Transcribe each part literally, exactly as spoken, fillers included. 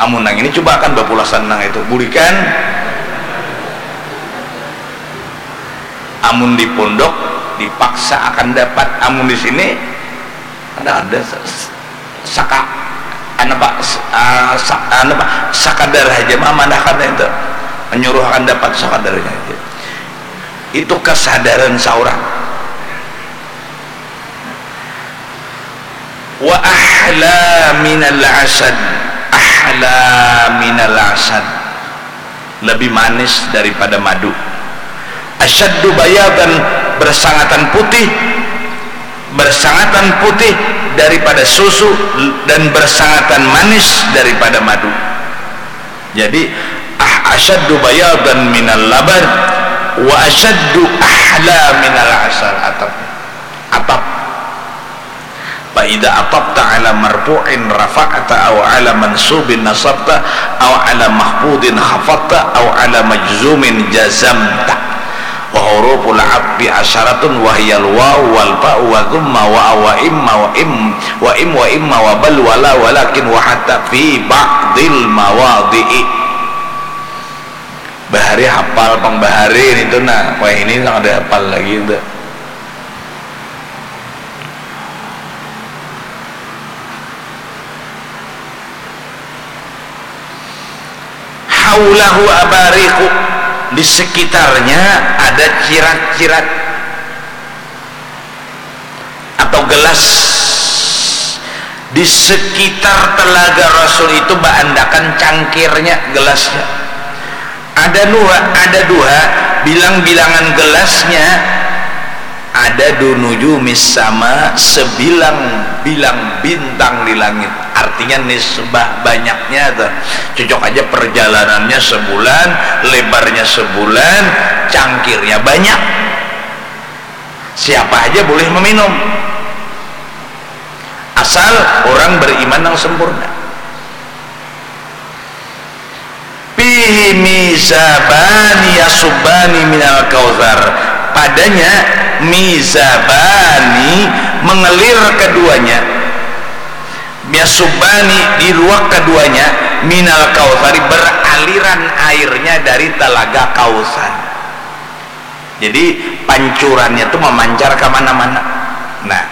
Amun nang ini coba akan bapulasan nang itu, bulikan. Amun di pondok dipaksa akan dapat, amun di sini kada ada. Saka, anu pak, ah, sa-, anu pak, sakadar haja mamanahkan itu, menyuruh akan dapat sakadarnya aja. Itu kesadaran seorang. Wa ahla minal asad, ahla minal asad, lebih manis daripada madu. Asyaddu bayadan, bersangatan putih, bersangatan putih daripada susu, dan bersangatan manis daripada madu. Jadi, ah, asyaddu bayadan minal laban, wa asyaddu ahla minal asal, atap. Atap. Fa idza atabta ala marfu'in rafa'ta, au ala mansubin nasabta, au ala makhfudin khafadta, au ala majzumin jazamta. Wa huruful atfi asyaratun wa hiyal waw wal fa'u wa thumma wa wa imma wa im wa im wa imma wa bal wala walakin wa hatta fi ba'dil mawadhi'i. Bahari hafal pang bahari nitu nah, wah ini nang kada hafal lagi tu. Haulahu abariqu, di sekitarnya ada cirat-cirat atau gelas. Di sekitar telaga Rasul itu baandakan cangkirnya, gelasnya. Ada dua, ada dua bilang-bilangan gelasnya. Ada dunujumi sama, sebilang-bilang bintang di langit. Artinya nisbah banyaknya tuh. Cocok aja perjalanannya sebulan, lebarnya sebulan, cangkirnya banyak. Siapa aja boleh meminum, asal orang beriman yang sempurna. Fihi mizabani yasubani minal kautsar. Padanya mizabani, mengelir keduanya, yasubani, diruak keduanya, minal kautsari, beraliran airnya dari telaga Kautsar. Jadi pancurannya tuh memancar ke mana-mana. Nah,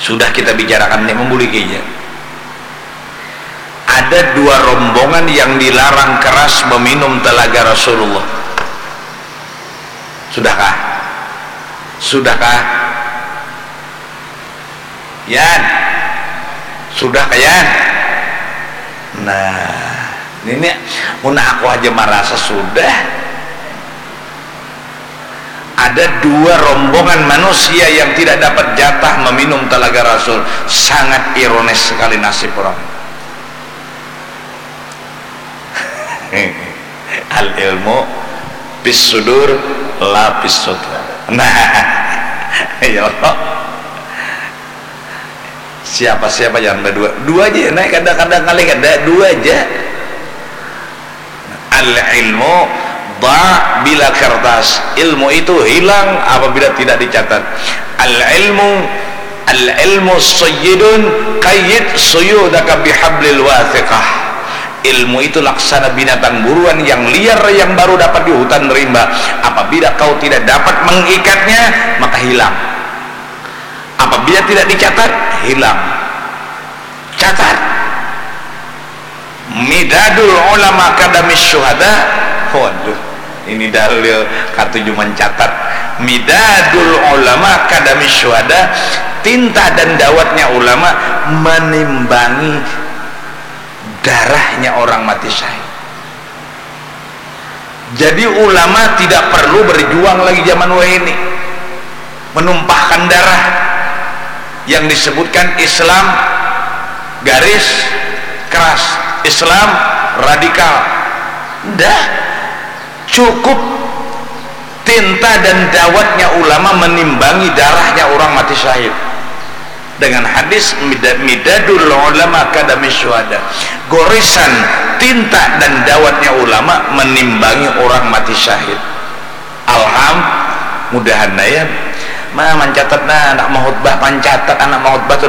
sudah kita bicarakan nih, membuli kayaknya. Ada dua rombongan yang dilarang keras meminum telaga Rasulullah. Sudahkah? Sudahkah? Yan. Sudah kayan? Nah, ini mun aku aja merasa sudah. Ada dua rombongan manusia yang tidak dapat jatah meminum telaga Rasul. Sangat ironis sekali nasib orang. Al ilmu fis sudur la fis sudur. Nah, ya Allah. Siapa-siapa jangan berdua. Dua aja ya, naik kada, kada ngalih kada, dua aja. Al ilmu da bila kertas. Ilmu itu hilang apabila tidak dicatat. Al ilmu, al ilmu sayyidun, qayyid suyudaka bihablil wathiqah. Ilmu itu laksana binatang buruan yang liar yang baru dapat di hutan rimba. Apabila kau tidak dapat mengikatnya, maka hilang. Apabila tidak dicatat, hilang. Catat. Midadul ulama kadamis syuhada. Waduh, ini dalil katuju mencatat. Midadul ulama kadamis syuhada, tinta dan dawatnya ulama menimbangi darahnya orang mati syahid. Jadi ulama tidak perlu berjuang lagi zaman wahini menumpahkan darah yang disebutkan Islam garis keras, Islam radikal. Dah, cukup tinta dan dawatnya ulama menimbangi darahnya orang mati syahid. Dengan hadis midadul ulama kadami syuhada, goresan tinta dan dawatnya ulama menimbangi orang mati syahid. Alham, mudahan ya. Ma, mancatat nah, anak mahutbah, pancatat anak mahutbah tu